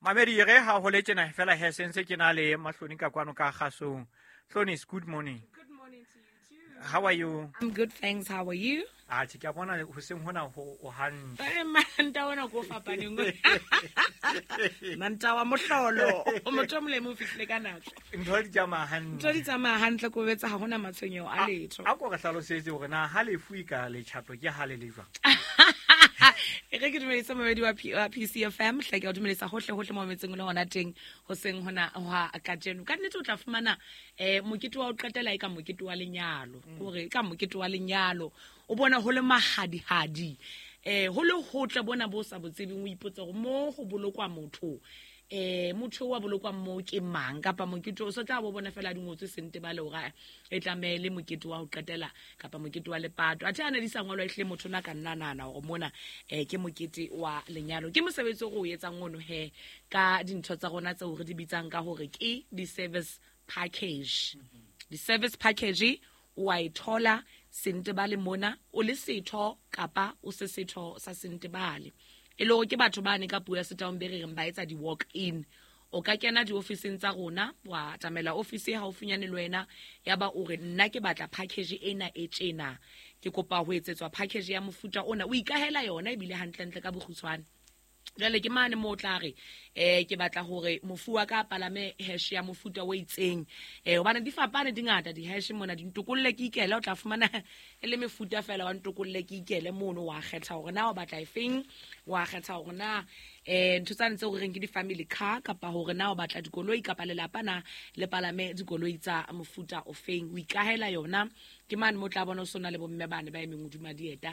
Mamedi re ha ho le tjena fela he sentse ke na le Mahloni ka kwano ka kgasong. Hlonis, good morning. Good morning to you too. How are you? I'm good, thanks. How are you? Atjhe, ke a bona hoseng hona ho o hantle. Eh, manta ona ko fapaneng. Manta wa mohlolo. O motho o molemo o fihlile ka nako. Ntho di tsamaya hantle. Ntho di tsamaya hantle ko betsa ha hona matshwenyeho a letho. A ko re hlalosetse hore na ha lefu e ka letjhato ke ha le le jwang. E re ke dumedise momedi wa PCFM, hle ke o dumedisa hohle hohle mo metseng le hona teng hoseng hona hwa kajeno. Ka nnete o tla fumana mokete wa ho qetela e ka mokete wa lenyalo. Hore e ka mokete wa lenyalo. O bona ho le mahadihadi. Ho le hotle bona bo sa botsebeng o ipotsa hore mo ho bolokwa motho. Motho wa bolokwa mo ke mang kapa mokete o so tla bo bona fela di ngotswe sente ba le hore e tlamehile mokete wa ho qetela kapa mokete wa lepato. Athe a ne di sa ngolwa ehle motho na ka nna nahana hore mona ke mokete wa lenyalo. Ke mosebetsi o re o etsang ono he ka dintho tsa rona tseo re di bitsang ka hore ke di-service package. Di-service package o a e thola Sentebale mona o le setho kapa o se setho sa Sentebale. E le hore ke batho bane ka puo ya Setaung be re reng ba etsa di-walk-in. O ka kena diofising tsa rona, wa atamela ofisi e haufinyane le wena, ya ba o re nna ke batla package ena e tjena. Ke kopa ho etsetswa package ya mofuta ona. O ikahela yona ebile hantlentle ka bokgutshwane. Jwale ke mane moo o tla re, ke batla hore mofu wa ka a palame hash ya mofuta o itseng. Hobane di fapane di ngata di-hash mona, di ntokolle ke ikele, o tla fumana e le mefuta fela wa ntokolle ke ikele mono, wa kgetha hore na o batla efeng, wa kgetha hore na ntho tsane tseo re reng ke di-family car, kapa hore na o batla dikoloi kapa lelapa na le palame dikoloi tsa mofuta ofeng. O ikahela yona. Ke mane mo tla bona o sona le bomme bane ba emeng hodima dieta,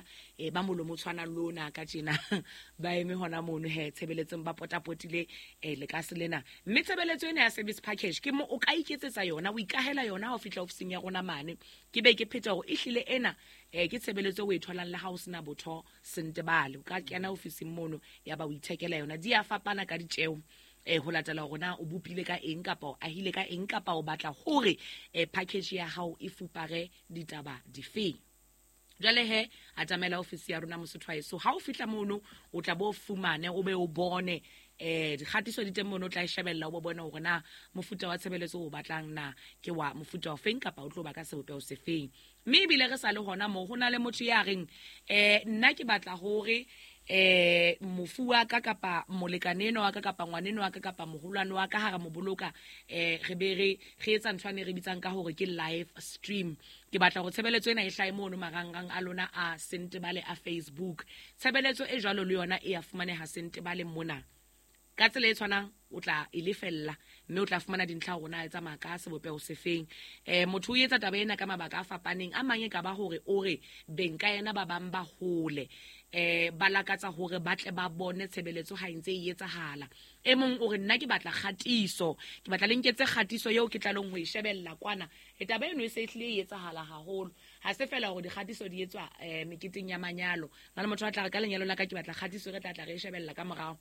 ba molomo o tshwanang le ona ka tjena. Ba eme hona mono he tshebeletsong ba potapotile lekase lena. Mme tshebeletso ena ya service package ke mo o ka iketsetsa yona, o ikahela yona ha o fihla ofising ya rona mane. Ke be ke pheta hore ehlile ena ke tshebeletso o e tholang le ha o sena botho Sentebale. O ka kena ofising mono ya ba o ithekela yona. Di a fapana ka ditjeo. Ho latela hore na o bopile ka eng kapa o ahile ka eng kapa o batla hore package ya hao e fupare ditaba difeng. Jwale he, atamela ofisi ya rona Mosotho wa heso. Ha o fihla mono, o tla bo fumane, o be o bone dikgatiso di teng mono, o tla e shebella, o bo bone hore na mofuta wa tshebeletso o batlang na ke wa mofuta o feng kapa o tlo ba ka sebopeho se feng. Mme ebile re sa le hona moo, ho na le motho ya reng, nna ke batla hore mofu wa ka kapa molekane enwa wa ka kapa ngwaneno wa ka kapa moholwane wa ka ha re mo boloka, re be re etsa ntho ane re bitsang ka hore ke live stream. Ke batla hore tshebeletso ena e hlahe mono marangrang a lona a Sentebale a Facebook. Tshebeletso e jwalo le yona e a fumaneha Sentebale mona. Ka tsela e tshwanang o tla e lefella mme o tla fumana dintlha hore na e tsamaya ka sebopeho se feng. Motho o etsa taba ena ka mabaka a fapaneng. A mang e ka ba hore o re beng ka yena ba bang ba hole, ba lakatsa hore ba tle ba bone tshebeletso ha e ntse e etsahala. E mong o re nna ke batla kgatiso, ke batla le nketse kgatiso eo ke tlalong ho e shebella kwana. Taba eno e se e hlile e etsahala haholo. Ha se fela hore dikgatiso di etswa meketeng ya manyalo. Na le motho a tla re ka lenyalo la ka ke batla kgatiso, re tla tla re e shebella ka morao.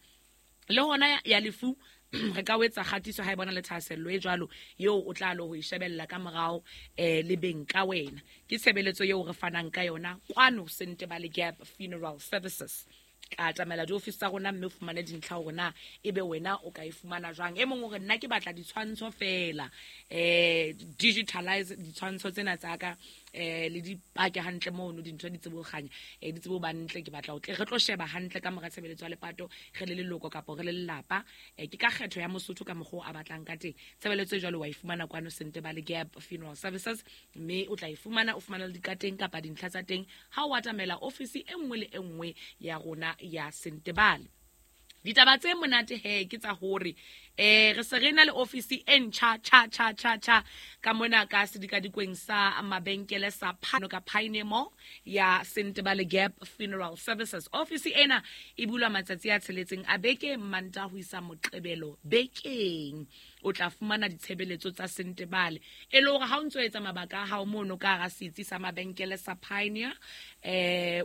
Le hona ya lefu re ka o etsa kgatiso ha e bona le thahasello e jwalo eo o tla lo ho e shebella ka morao le beng ka wena. Ke tshebeletso eo re fanang ka yona kwano Sentebale Gap Funeral Services. Ka atamela diofisi tsa rona mme o fumane dintlha hore na ebe wena o ka e fumana jwang. E mong o re nna ke batla ditshwantsho fela, digitalize ditshwantsho tsena tsa ka, le di pake hantle mono, dintho di tsebe ho kganya, di tsebe ho ba ntle. Ke batla ho tle re tlo sheba hantle ka mora tshebeletso ya lepato re le leloko kapa re le lelapa. Ke ka kgetho ya Mosotho ka mokgwa o a batlang ka teng. Tshebeletso e jwalo wa e fumana kwano Sentebale Gap Funeral Services, mme o tla e fumana, o fumana le dikateng kapa dintlha tsa teng ha o atamela ofisi e nngwe le e nngwe ya rona ya Sentebale. Ditaba tse monate he ke tsa hore re se re na le ofisi e ntjha cha cha cha cha ka mona ka sedikadikweng sa mabenkele sa Phano ka Pioneer Mall ya Sentebale Gap Funeral Services. Ofisi ena e bulwa matsatsi a tsheletseng a beke, Mantaha ho isa Moqebelo bekeng. O tla fumana ditshebeletso tsa Sentebale e le hore ha o ntso etsa mabaka a hao mono ka hara setsi sa mabenkele sa Pioneer,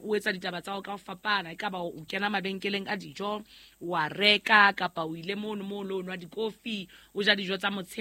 o etsa ditaba tsa hao ka ho fapana. E ka ba o kena mabenkeleng a dijo, wa reka, kapa o ile mono moo o lo nwa dikofi, o ja dijo tsa motshehare.